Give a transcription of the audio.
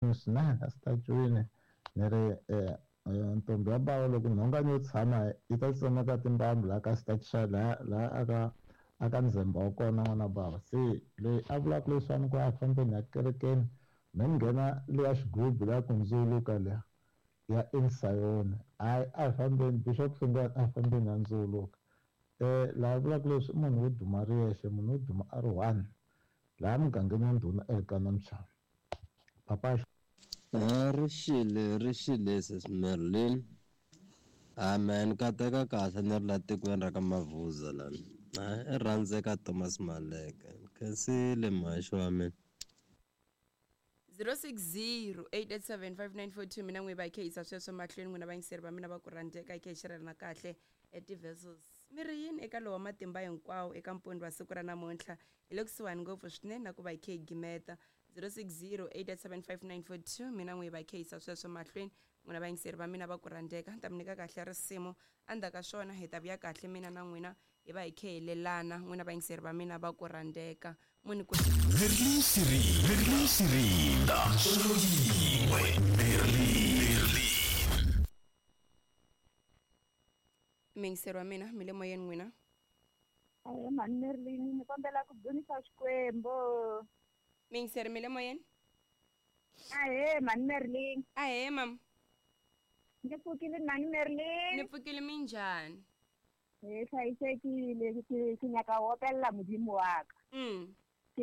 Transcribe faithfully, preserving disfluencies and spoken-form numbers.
Swinene a xitacwini ni ri ntombi ya bava loko nhongani yo tshama yi ta tsemeka timbambu laha ka xitachi laha laha aka aka ndzhemba wa kona n'wana bava. Se loyi a vulaka leswiwani ku a hi fambeni hi ya kerekeni me ni nghena leya xigubu leya ku ndzuluka liya ya Insayoni, hayi a hi fambeni Bishop Hlungwani a hi fambeni ya ndzuluka. Laha vulaka leswi i munhu wo duma ri yexe, munhu wo duma a ri one laha mugangeni wa ndhuna Elkana Mchava. Papa. Ri xile ri xile sis Merlin. Amen kateka kahle ni ri la tikweni ra ka Mavuza lani. I rhandzeka Thomas Maleke. Khensile mhaxi wa mina. zero six zero eight eight seven five nine four two mina n'wi va khe yisa sweswo mahlweni n'wina vayingiseri va mina va ku rhandzeka hi khe hi xerelana kahle eti-vessels mi ri yini eka lowa matimba hinkwawo eka mpfundo wa siku ra namuntlha hi le kusuhani ngopfu swinene na ku va hi khe hi gimeta zero six zero eight eight seven five nine four two mina n'wi va khe yisa sweswo mahlweni n'wina vayingiseri va mina va ku rhandzeka ni ta mi nyika kahle risimu endzhaku ka swona hi ta vuya kahle mina na n'wina hi va hi khe hi lelana n'wina vayingiseri va mina va ku rhandzeka muni ku Merlin Siri, Merlin Sirinda, Ntsongo yin'we, Merlin. muyingiseri wa mina mi le moyeni n'wina. Ahe mhani Merlin, ni kombela ku dzunisa Xikwembu. Muyingiseri mi le moyeni. Ahe mhani Merlin. Ahee mama. Ni pfukile mhani Merlin. Ni pfukile minjhani? Hi hlayisekile ke ke nyaka ho opelela Modimo wa ka. Mm.